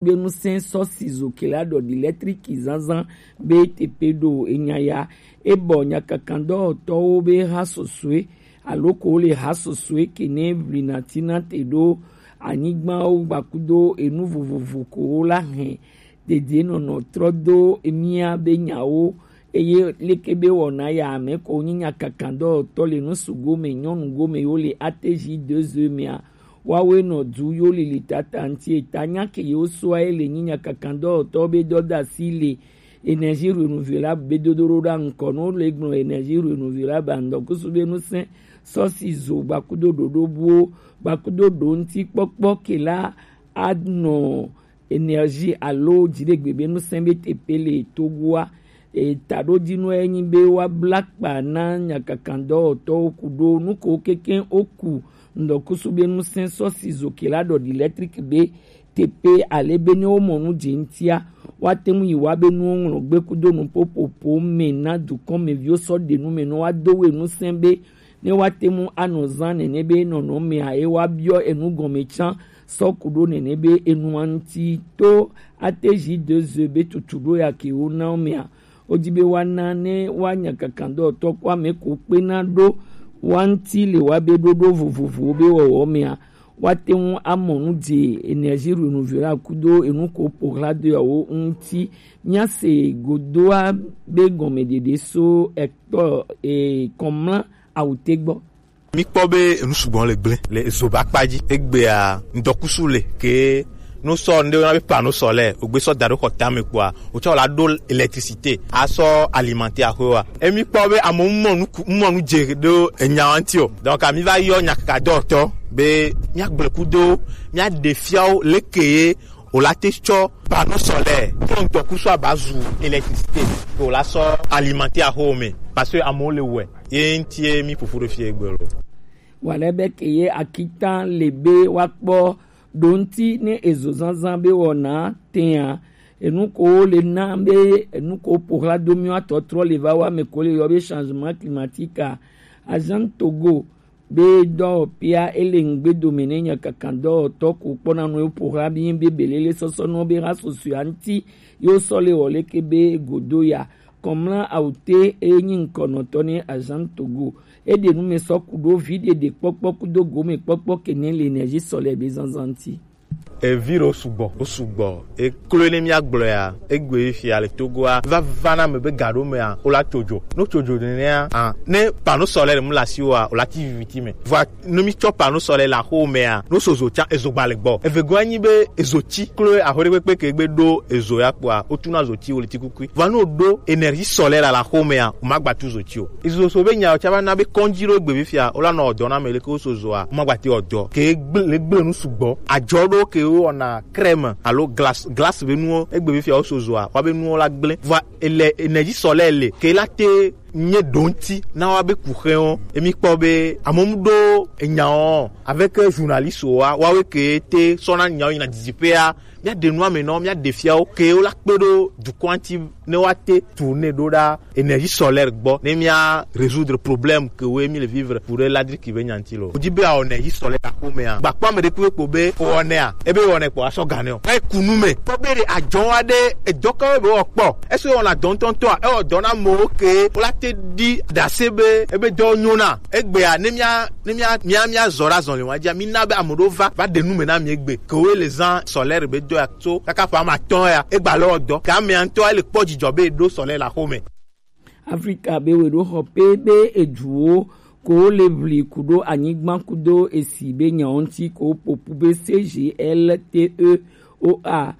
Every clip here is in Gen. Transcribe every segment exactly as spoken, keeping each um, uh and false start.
be nusɛn sɔ si zo kela ɖɔ ɖi lɛtriki zanzan be tepe ɖo enya ya. Ebɔ nyakakandɔtɔwo be ha sosoe alo ko le ha sosoe ke ne vli na tina te ɖo anyigbawo gbakudo enu vovovo ko la hɛn dede nɔnɔ trɔ do emia be nyawo, eye leke be wɔna ya ame ko nyi nyakakandɔtɔ le nu sugo me nyɔnu gome yo le ateji deux mea, wawe nɔ du yo lili tata ŋuti eta nya ke yo soa ye le nyi nyakakandɔtɔ be dɔdasi le énergie renouvelable be dodo ɖo ɖa ŋkɔ no le gblɔ énergie renouvelable andɔkusu be nusɛn sɔsi zo gbakudo ɖoɖo buwo gbakudo ɖo ŋuti kpɔkpɔ ke la anɔ énergie alo dziɖegbe be nusɛn be tepe le Togoa. Etaɖodzinua ye nyi be woabla kpa na nyakakandɔwɔtɔwo ku ɖo nuko keke woku ŋdɔkusu be nusɛn sɔ si zo ke la ɖɔ ɖi lɛtriki be tepe ale be ne womɔ nu dze ŋutia, woate ŋu yi wa be nuwo ŋlɔ gbe kudo nuƒoƒoƒo me na dukɔmeviwo sɔ ɖe nu me ne woado we nusɛn be ne woate ŋu anɔ zã nene be nɔnɔmea ye woabiɔ enu gɔme tsã sɔ ku ɖo nene be enua ŋuti to ate zi de ze be tutu ɖo ya ke wona mea, wodi be woana ne woanya kakandɔtɔ kpɔ ame ko kpena ɖo wa ŋuti le woabe ɖoɖo vovovowo be wɔwɔ mea, woate ŋu amɔ nu dze énergie renouvelable kudo enu ko ƒo ɣla do yawo ŋuti. Míase godoa be gɔmeɖeɖe so ekpɔ e, kɔmla awute gbɔ. Míkpɔ be enu sugbɔ le gblẽ le ezoba kpa dzi. Egbea ŋdɔkusu le ke no sɔ ŋɖe wona be panneau solaire, wogbe sɔ da ɖo xɔ tame kpoa, wotsɔ la ɖo électricité asɔ alimenter axoa. Emi kpɔ be amewo mɔ nu ku- mɔ nu dze ɖo enya ŋuti o. Donc ami va yɔ nyakakadɔtɔ be míagblẽ kudo, míaɖe fiawo leke ye wòla te tsɔ panneau solaire, tsɔ ŋdɔkusu aba zu électricité, ke wòla sɔ alimenter axɔwo me, parce que amewo le wɔe. Ye ŋutie mí ƒoƒu ɖo fie egbe lo. Wale be ke ye akitan le be woakpɔ ɖo ŋuti ne ezo zazã be wɔna tea. Enu ko le na be enu ko ƒo ɣla do míwo atɔtrɔ le va wa me ko le yɔ be changement climatique a. Agent Togo be dɔwɔƒea ele ŋgbedome ne nyakakandɔwɔtɔ ko kpɔna nu eƒo ɣla be be belele sɔsɔ nɔ be ha susua ŋuti yo sɔ le wɔ leke be godo ya. Kɔmla awute eye nyi ŋkɔnɔtɔ ne Agent Togo. Eɖe nu me sɔ ku ɖo vi ɖeɖe kpɔkpɔ kudo gome kpɔkpɔ ke ne le énergie solaire be zanzan ŋuti. Evi ɖewo sugbɔ, wo sugbɔ. Eklo ne míagblɔea, egbe fia le Togoa, vava na me be ga ɖewo mea, wola tso dzo. Ne wotso dzo nenea, ah, ne panneau solaire mu le asiwoa, wola ti viviti me. Vɔa, ne mítsɔ panneau solaire le axowo mea, ne woso zo tsã, ezo gba le gbɔ. Evegɔa nyi be ezo tsi klo axo ɖe kpekpe ke gbe ɖo ezo ya kpɔa, wotuna zo tsi wo le tsi kukui. Vɔa ne woɖo énergie solaire le axo mea, womagba tu zo tsi o. Ezo so be nyawo tsã va na be kɔndzi ɖewo gbe fia, wola nɔ dɔ na me leke woso zoa, womagba te wɔ dɔ. Ke gble, gble nu sugbɔ. Adzɔ ɖewo ke wowɔna crème alo glace, glace be nuwo, egbe be fia woso zoa, woabe nuwo la gblẽ. Vɔa ele énergie solaire le, ke la te nye ɖo ŋuti na woabe kuxewo. Emi kpɔ be amewo mu ɖo enyawo avec journaliste wa, woawe ke te sɔna nyawo yina didiƒea, míaɖe nua me nɔ, míaɖe fiawo ke wola kpe ɖo dukɔa ŋuti ne woate tourner ɖo ɖa énergie solaire gbɔ, ne mía résoudre problème ke wo mi le vivre pour le ladriki be nyanti lo. Wodi be awɔ énergie solaire axo mea, gbakpɔ ame ɖe kpekpe kpo be wɔnɛa, ebe wɔnɛ kpɔ asɔ ganɛ o. Ɛ kunu me. Kpɔ be ɖe adzɔ wa ɖe edɔ kawo be wɔkpɔ. Ese wɔna dɔ ŋutɔŋutɔa, ewɔ dɔ na amewo ke wola te ɖi ɖase be ebe dɔ nyo na. Egbea ne mía ne mía mía mía zɔ ɖe azɔli wa dzia, mina be ame ɖewo va va ɖe nu me na mi egbe. Ke wo le zã solaire be dɔ ya tso kaka ƒe ame atɔ̃ ya, egba le wɔ dɔ. Ke amea ŋutɔ ele kpɔ dzidzɔ be eɖo solaire le axo me. Afrika be wòɖo xɔ pe be eduwo ko le ʋli ku ɖo anyigba kudo esi be nyawo ŋuti ko ƒoƒu be C G L T E O A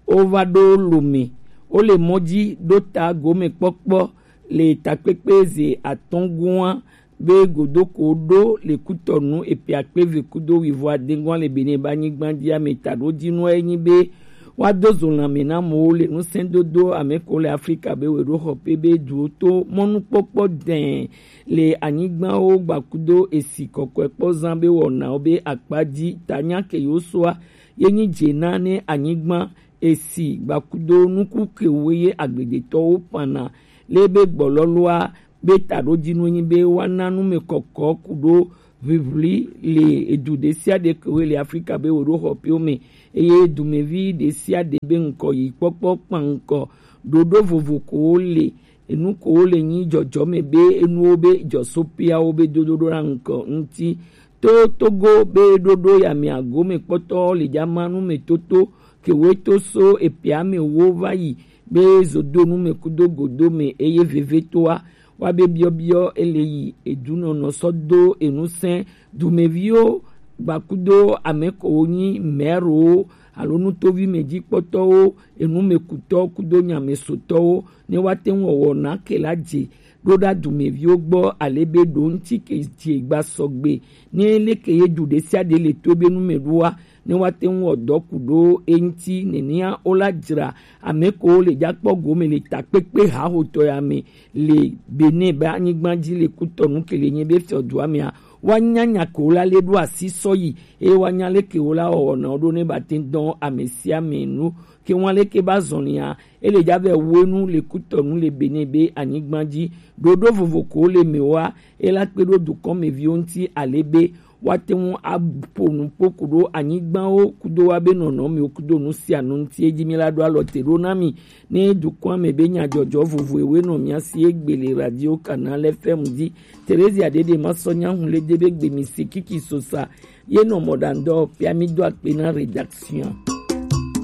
wova ɖo Lome. Wole mɔ dzi ɖo ta gomekpɔkpɔ le takpekpe ze atɔ̃ gɔ̃a be godoko ɖo le Kutɔnu epe akpe eve kudo wuivo ade gɔ̃a le Benin be anyigba dzi ame taɖodzinua ye nyi be woado zo lãme na amewo le ŋusẽdodo ame ko le Afrika be wòɖo xɔ pe be duwo to mɔnukpɔkpɔ dɛ̃ le anyigbawo gbakudo esi kɔkɔe kpɔ zã be wɔnawo be akpa dzi ta nya ke yewo soa ye nyi dze na ne anyigba esi gbakudo nuku kewo ye agbledetɔwo ƒãna le be gbɔlɔlɔa be taɖodzinue nyi be woana numekɔkɔ ku ɖo ʋiʋli le edu ɖesiaɖe kewo le Afrika be wo ɖo xɔ piwo me, eye dumevi ɖesiaɖe be ŋkɔ yi kpɔkpɔ kpankɔ ɖoɖo vovo kowo le, enu kowo le nyi dzɔdzɔme be enuwo be dzɔsopiawo be dodo ɖo na ŋkɔ ŋuti. To Togo be ɖoɖo ya me agome kpɔtɔ le dza ma nu me toto kewoe to so epia me wo va yi be zodonu me kudo godo me, eye vevetoa wa be biɔbiɔ ele yi edunɔnɔ sɔ do enusẽ dumeviwo gbakudo ame kowo nyi mɛrowo alo nutovi me dzi kpɔtɔwo, enumekutɔ kudo nyamesotɔwo ne wa te ŋu wɔwɔ na ke la dze ɖo ɖa dumeviwo gbɔ ale be ɖo ŋuti ke dze gba sɔgbe ne leke ye du ɖesiaɖe le to be nu me ɖoa ne wa te ŋu wɔ dɔ ku ɖo eŋuti nenea wo la dzra ame kowo le dzakpɔ gome le takpekpe hahotɔ ya me le Benin be anyigba dzi le kutɔnu ke le nye be fiɔdua mea wa nya nya ke wo la le ɖo asi sɔ yi eye wa nya leke wo la wɔwɔ na wo ɖo ne ba te dɔn ame sia ame nu ke wa leke ba zɔlia ele dza vɛ wo enu le kutɔnu le Benin be anyigba dzi ɖoɖo vovo ko le me wa ela kpe ɖo dukɔ me viwo ŋuti ale be wa te ŋu aƒo nu kpo ku ɖo anyigbawo kudo wa be nɔnɔmewo kudo nu sia nu ŋuti edzi mi la ɖo alɔ te ɖo na mi ne dukɔa me be nyadzɔdzɔ vovo ewe nɔ mia si egbe le radio Canal F M dzi. Teresia ɖeɖe ma sɔ nya hu le de be gbe mi si kiki sosa ye nɔ mɔɖaŋdɔ pia mi do akpe na rédaction.